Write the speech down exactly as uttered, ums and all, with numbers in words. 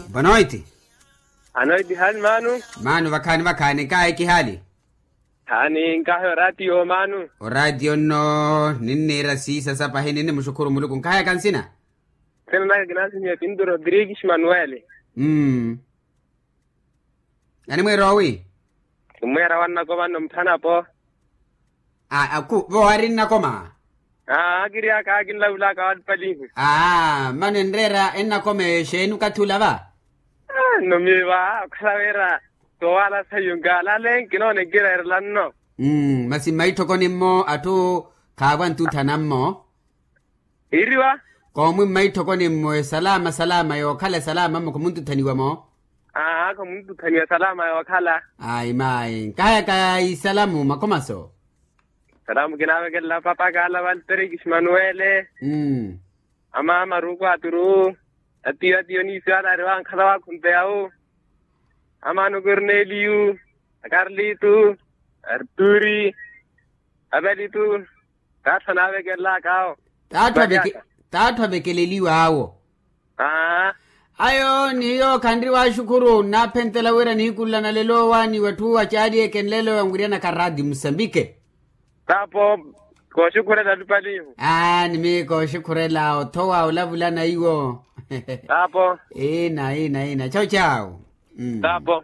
Bonoiti. Anoiti hali manu. Manu vakhaani vakhaani nkaahi kihali. Haani nkaahi oratiyo manu. Oratiyo nno ninniira siisa sapahi ninnimuxukhuru muluku nkahayaka nsina. Nsina naka kinasinyiwe pintu rodrigues manuele. Animweera owi? Kinmweera wannakoma nno mphanapo. Aa vo ari nnakoma? Aa kiri aka kinlavulaka wali palihu. Aa mano enreera ennakoma exeeni okathi ula va? Nno miyo va okhala wira towala sayu nkalale nkinoona enkireerela nno. Masi mmaitthokoni mmo atthu khaavo antutthana mmo. Iriwa. Koomwi mmaitthokoni mmo esalaama salaama yookhala esalaama mmo khomuntuthaniwa mo. Aa khomuntuthaniwa esalaama yookhala. Ayi mayi nkahayaka isalamu makhomaso. Salaamu kinaavekelela papa kaala valteriki ximanuwele. Amaama ruuku aturu. Atiyo atiyo niisiyo anaari wankhala wakhunteya wu. Amaano korneliyu, akarlitu, arturi, apelitu. T'atthu anaavekelelaka awo. T'atthu avekeleliw'awo. Ayo niyo khanri waxukhuru nnaaphentela wira nihikululana lelo owaani w'etthu acaali eke nlelo anwiryanaka raadi musambike. Taapo kooxukhurela lupalihu. Aa ni miyo kooxukhurela othowa olavulana iwo. Taapo. Ina ina ina chawu chawu. Taapo.